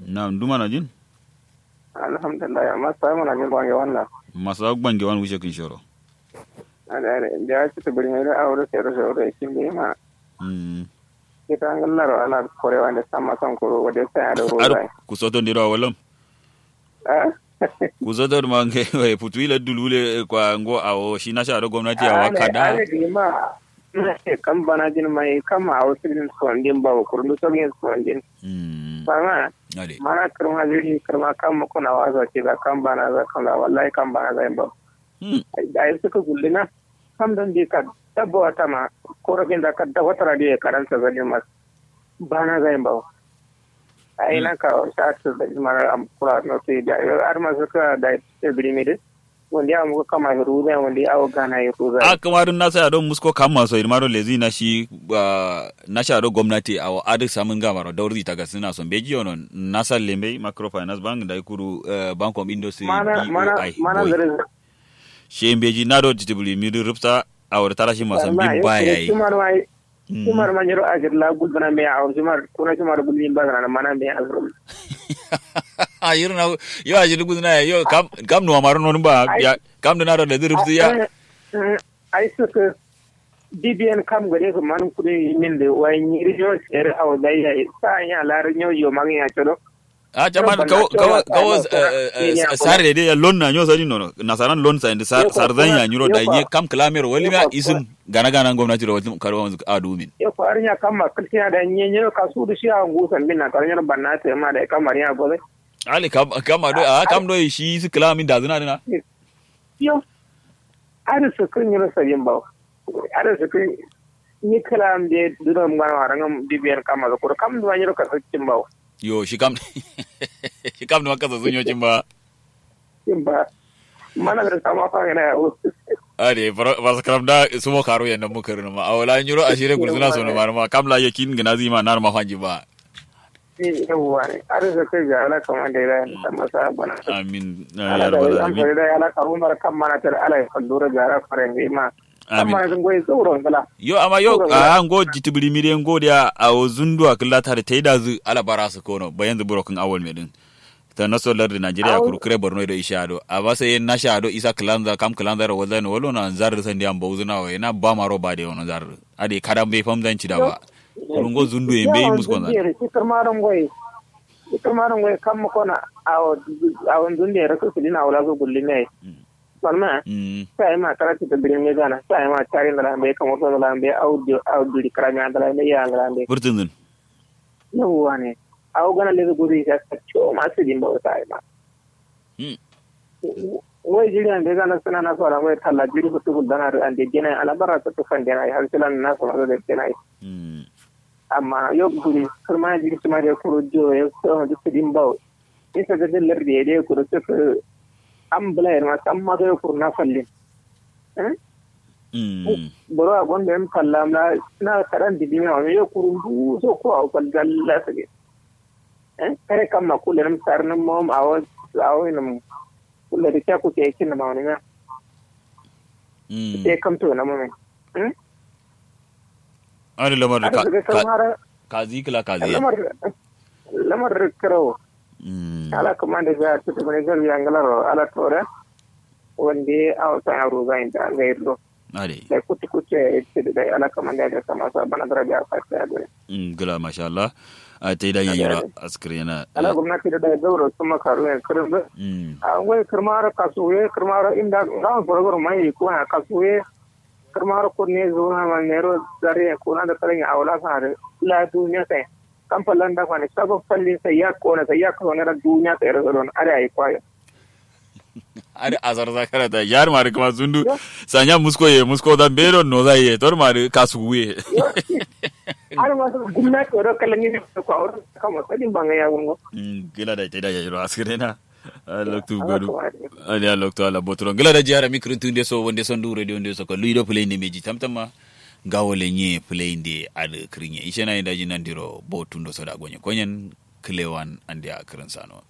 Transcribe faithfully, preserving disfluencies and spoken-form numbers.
Na'am, ndu manajin? Alhamdulillah, amma sai manajin gwange walla. Masa gwange wan wushe kin shoro. Ade ade, nde a citi buri mai do awo do sero sero do ikin de ma. Mm. Kita ngallaro ala kore wande samma son kuro wode sai ado ro. Ado zai. Kusoto ndiro awolam. Ah? Kusoto ma nge we putu ila dulule kwa ngo awo shi nasha do gwamnati awa kada. Ade ma. Kam bana jin mai kam awo sidin sondin ba kuru do sogin sondin. Mm. Bama. Ade. Mana kirma jiri kirma kam mukuna wasa ce da kam bana za kam da wallahi kam bana za ba. Hmm. Ai suka gullina. Kam don di ka dabba wata ma korafin da ka dabba tara da ya karanta zalin mas. Bana za ba. Ai nan ka sa ta zalin mara am kura no sai da har ma suka da biri mi dai. Wonde awo muko kamma hiruza wonde awo gana hiruza. A kama dun nasa ya don musko kamma so irma don lezi na shi. Nasa ya don gwamnati awo aduk samun gama ro daurzi ta gasina so beji yono. Nasa lembe microfinance bank da ikuru bank of industry. Mana mana mana zare. Shi beji na don titibuli mi dun rufsa. Awo da tara shi ma sambin ba yayi. Cimar ma nyiro ajir la gulzana me awo cimar kuna cimar gulzin ba zana mana me azrum. Ajir na yo ajir gulzana yo kam kam no amaro non ba ya kam dana da da zurf ya. Ai suka. Bibiyan kam gare su man kudin min da wai nyiri yo sere awo da ya sa ya lar yo yo magin ya cholo. A chaman kawo kawo kawo. Sare de ya lon na nyo sani nono nasaran lon sa indi sar zan ya nyuro da nye kam klamero wali ma isin gana gana gwamnati ro wali karo wanzu a dumin. Yo ko arnya kam ma kiltiya da nye nye ka su du shi a ngu san bin na karo nyuro banna te ma da kam arnya gobe. Ali kam kam do a kam do shi su klamin da zuna dina. Yo. Ada su kun nyuro sabin bawo. Ada su kun ni kala am de duna ngana warangam dibiyan kam ma kuro kam duma nyuro ka su cin bawo. Yo shi kam shi kam duma kasa sun yo cin ba. Cin ba. Mana da sama fa yana yawo. Ade fas karam da sumo karo yan nan mukar ma awala nyuro ashire gulzuna so no marma kam la yakin gina zima nar ma fanji ba. Yawwa ne har da kai ga ala kaman da ya da masa bana. Amin. Ala da yan fari da yana karumar kan mana tar ala ya fallura ga ra fare ma. Amma yanzu goyi tsoron kala. Yo amma yo a ngo jitibiri mire ngo dia awo zundu a killa tare tai da zu ala bara su kono ba yanzu burokin awol me din. Ta naso lardi Nigeria kuru kire Borno do isha do a ba sai na sha do isa kilanza kam kilanza ro wazan wolo na zar san dia mbo zuna wa na ba maro ba de wono zar. Ade kada mbe fam zan ci da ba. Kuru ngo zundu e mbe musko zan. Kirmaron goyi. Kirmaron goyi kam kona awo awo zundu e rasu kudina wala so gullime. Salma. Sai ma karatu da birin ne gana sai ma tare da lambe kamar so da lambe au di au di karami an da lambe ya da lambe. Burtun zun. Yawwa ne. Au gana le gudu ya ka cho ma su din ba sai ma. Wai jiri an da gana suna na so lambe talla jiri ku tukul dana an da gina alabara ta tufan dana har silan na so da dana. Amma yo guri kirma jiri sima de kuro jo yo so de sidin bawo. Isa ga de lardi de kuro so am bla ma samma ga kuro na fallin. Eh? Boro a gonda yam kallam la na karan didi ma yo kuro du so ko a fal dalla sage. Eh? Kare kam ma kullum sarnin mom awo awo inum. Kullum da kya kuke kin ma wani na. Sai kam to na mom. Eh? Ari lamar ka ka zi kila ka zi lamar lamar karawo. Ala kuma da ga tutu ne gar yangalaro ala tore. Wande aw sa ro ga inda ga irdo. Ari da kutu kutu ya ce da ala kuma da ga sama sa bana dara da ka ta da. Gila masha Allah. A ta yi da yayyura askirina ala gwamnati da da gauro kuma karu ya kirdo. A wai kirmaro kasuwe kirmaro inda ga gurgur mai ko na kasuwe. Kirmaro kunne zuna ma nero zare kuna da karin awla sa da la duniya sai. Kam fallan da kwani sabon fallin sai ya kona sai ya kona da duniya sai da don ada yi kwayo. Ada azar zakara da yar mari kuma zundu. Sanya musko ye musko da bero no za ye tor mari kasu ye. Ada masu gumna ko ro kallon ni ko awro kama sadin banga ya wungo. Gila da ta da ya jiro askirina. Loktu godu. Ani a loktu ala botoro ngila da jihara mi kirintu nde so wonde so ndu radio nde so ko luido play nde meji tamtama. Ngawo le nye play nde ad kirinye ishe na inda jinan diro botu ndo so da gonye konyen. Klewan ande a kirin sano.